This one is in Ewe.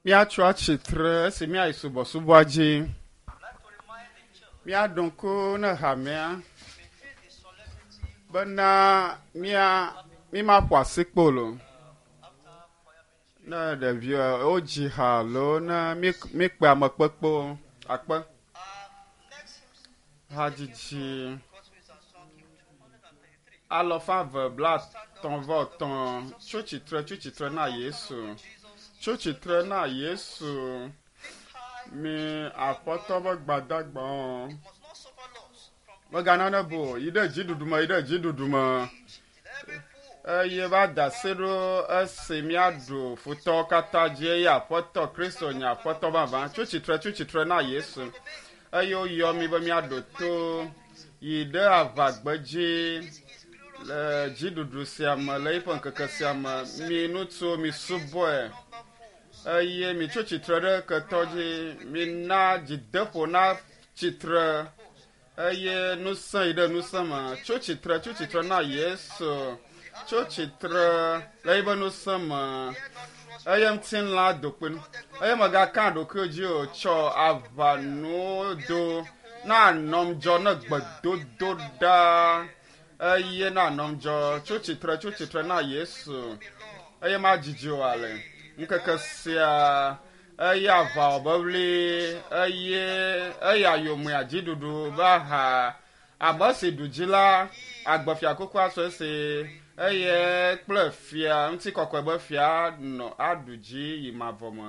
Míatso atsitre esi míayi subɔsubɔa dzi. Míaɖo ŋku ne hamea bena mía mímaƒo asikpolo ne ɖevi wodzi ha alo ne míkpe ame kpekpewo akpe hadzidzi alɔfa eve blaetɔ̃ vɔ etɔ̃ tso tsitre tso tsitre na Yesu tso tsitre na Yesu mi aƒetɔ be gbadagbawo megana ne bo yi ɖe dziɖuɖu me yi ɖe dziɖuɖu me eye va da asi ɖo esi míaɖu futɔwo katã dzi eye aƒetɔ Kristo nye aƒetɔ vavã tso tsitre tso tsitre na Yesu eye woyɔ mi be míaɖo to yi ɖe aʋagbedzi le dziɖuɖu sia me le eƒe ŋkeke sia me mi ŋutsuwo mi subɔe eye mitso tsitre ɖe ketɔ dzi mina dzideƒo na tsitre eye ŋusẽ yi ɖe ŋusẽ me tso tsitre tso tsitre na Yesu tso tsitre le eƒe ŋusẽ me eye ŋutilã dokpe nu eye mègaka ɖokuiwò dzi o tsɔ aʋanuwo do na nɔm dzɔ ne gbedodo ɖa eye na nɔm dzɔ tso tsitre tso tsitre na Yesu eye madzidzi o ale ŋkeke sia eye aʋawɔbeʋli eye eya yomea dziɖuɖu be aha ame si ɖu dzi la agbefiakuku asɔ esi eye kple fia ŋutikɔkɔe be fia nɔ aɖu dzi yi mavɔ me.